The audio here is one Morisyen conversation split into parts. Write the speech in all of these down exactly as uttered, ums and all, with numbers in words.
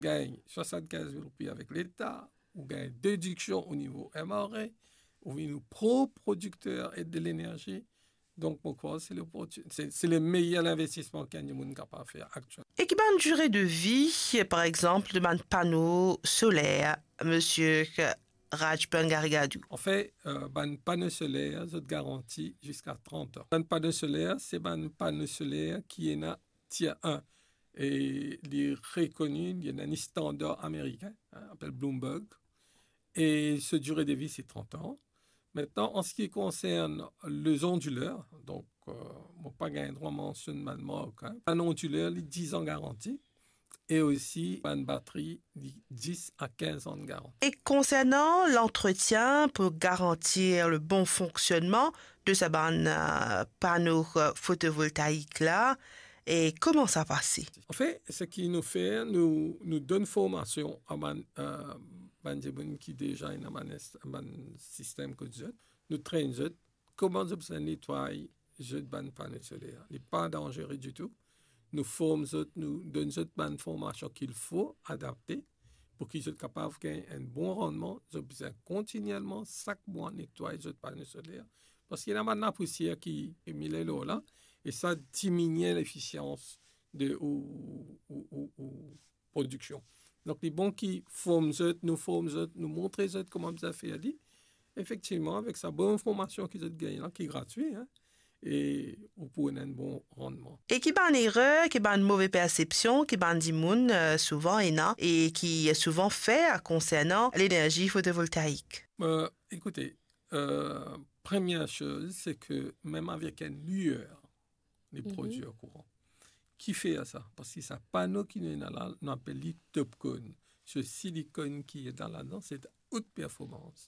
Gagn swasannkinz mil roupi avek Leta, ou gagn dediksion o nivo M R A, ou vinn ou prop prodikter de lenerzi. Donk, mo krwar se loporti-, se, se le meyer linvestisman ki enn dimoun kapav fer aktielman. E ki bann dire de vi, par exanp, de bann pano soler, Misie Raj Pangarigadou? Anfet, euh, bann pano soler, zot garanti ziska trant an. Bann pano soler, se bann pano soler ki ena tier un. E li rekoni, li ena enn standar amerikin, hein, apel Bloomberg. E so dire de vi, se trant an. Mintnan, an se ki konsern lezondiler, donk, euh, mo pa gagn drwa mansionn bann mark, hein. Bann ondiler, li diz an garanti. E osi, bann batri, li diz a kinz an garanti. E konsernan lantretien pou garantir le bon fonksionnman de sa bann, euh, pano, euh, fotovoltaik la, e kouma sa pase? Anfet, seki nou fer, nou, nou donn formasion a bann, euh, bann dimoun ki deza ena bann est-, bann sistem kot zot, nou trenn zot, kouma zot bizin netway zot bann pano soler. Li pa danzere ditou. Nou form zot, nou donn zot bann formasion ki fo, adapte, pou ki zot kapav gagn enn bon rannman. Zot bizin kontinielman, sak mwa, netway zot pano soler. Parski ena bann lapousier ki, ki mile lor la, e sa diminie lefisians de ou, ou, ou, ou prodiksion. Donk, li bon ki form zot, nou form zot, nou montre zot kouma bizin fer li. Efektivman, avek sa bon formasion ki zot gagn la, ki gratwi, hein, e ou pou ena enn bon rannman. E ki bann erer, ki bann move persepsion, ki bann dimoun, euh, souvan ena, e ki souvan fer konsernan lenerzi fotovoltaik? Euh, ekoute, euh, premie soz, se ke mem avek enn liyer, li prodwir kouran. Ki fer sa? Parski sa pano ki nou ena la, nou apel li TOPCon. Se silikonn ki ena ladan, se out performans.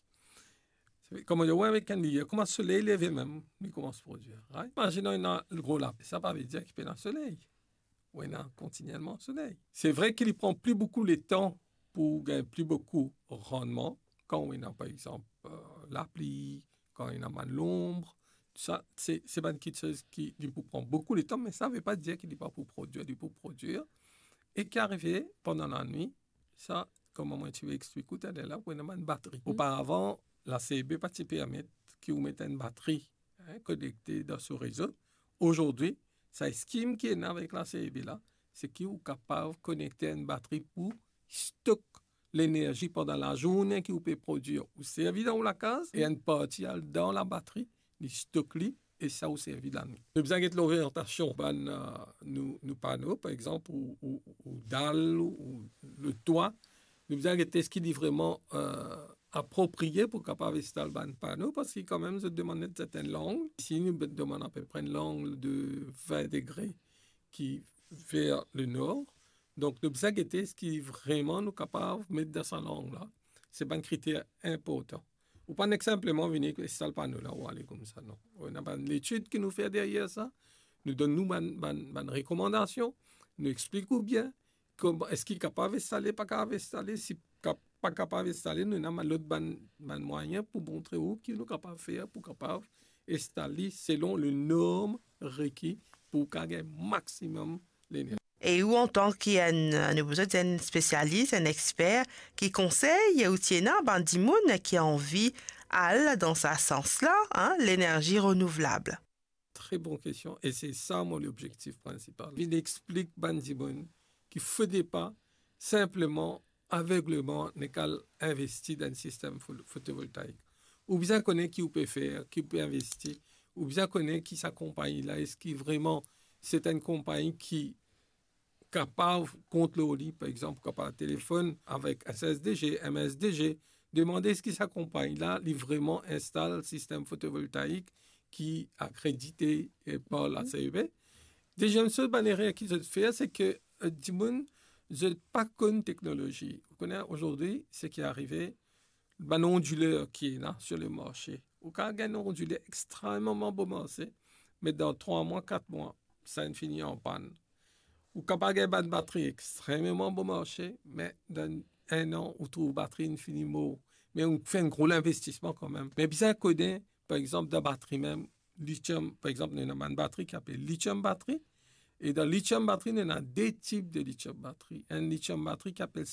Kouma dir, wi, avek enn liyer, kouma soley leve mem, li koumans prodwir, right? Imazinn ena gro lapli, sa pa vedir ki pena soley. Ou ena kontinielman soley. Se vre ki li pran pli boukou letan pou gagn pli boukou rannman, kan ou ena, par exanp, euh, lapli, kan ena bann lonb, sa, se, se bann kiksoz ki, li pou pran boukou letan, me sa ve pa dir ki li pa pou prodwir, li pou prodwir. E ki arive pandan lanwit, sa, kouma mo ti pe explik ou taler la, pou ena bann batri. Oparavan, la C E B pa ti permet ki ou met enn batri, hein, konekte dan so rezo. Azordi, sa scheme ki ena avek la C E B la, se ki ou kapav konekte enn batri pou stok lenerzi pandan lazourne ki ou pe prodwir. Ou servi dan ou lakaz, e enn parti al dan labatri, li stok li, e sa ou servi lanwit. Nou bizin get loryantasion bann, euh, nou, nou pano, par exanp, ou, ou, ou dal, ou letwa. Nou bizin get eski li vreman, euh, apropriye pou kapav instal bann pano, parski kanmem zot demann enn sertenn lang. Isi, nou demann apepre enn lang de vin degre ki ver lenor. Donk, nou bizin gete eski vreman nou kapav met dan sa lang la. Se bann kriter inportan. Ou pa nek sinpleman vini instal pano la, ou ale koumsa, non. Ou ena bann letid ki nou fer deryer sa. Nou donn nou bann, bann, bann rekomandasion. Nou explik ou bien kouma, eski kapav instale, pa kapav instale, si kap-, pa kapav instale, nou ena bann lot bann, bann mwayin pou montre ou ki nou kapav fer pou kapav instal li selon le norm reki pou kapav gagn maximum lenerzi. E ou, antan ki enn, nou bizin dir enn spesialis, enn exper, ki konsey ou ti ena bann dimoun ki anvi al dan sa sans la, hein, lenerzi renouvlab? Tre bon kestion, e se sa mo lobzektif prinsipal. Vinn explik bann dimoun ki fode pa sinpleman, avegleman, nek al investi dan enn sistem fo-, fotovoltaik. Ou bizin kone ki ou pe fer, ki ou pe investi. Ou bizin kone ki sa konpagni la, eski vreman se enn konpagni ki kapav kontrol li, par exanp, ou kapav telefonn avek S S D G, M S D G, demande eski sa konpagni la, li vreman instal sistem fotovoltaik ki akredite, eh, par la C E B. Deziem soz, bann erer ki zot fer, se ke, eh, dimoun, zot pa konn teknolozi. Ou kone, azordi, seki arive, bann ondiler ki ena sur le marse. Ou kapav gagn enn ondiler extrememan bon marse, me dan trwa mwa, kat mwa, sa inn fini an pann. Ou kapav gagn bann batri extrememan bon marse, me dan enn an, ou trouv batri inn fini mor. Me ou fer enn gro linvestisman kanmem. Me bizin kone, par exanp, dan batri mem, litiom, par exanp, nou ena bann batri ki apel litiom batri, E dan lithium batri, nou ena de tip de lithium batri. Enn lithium batri ki apel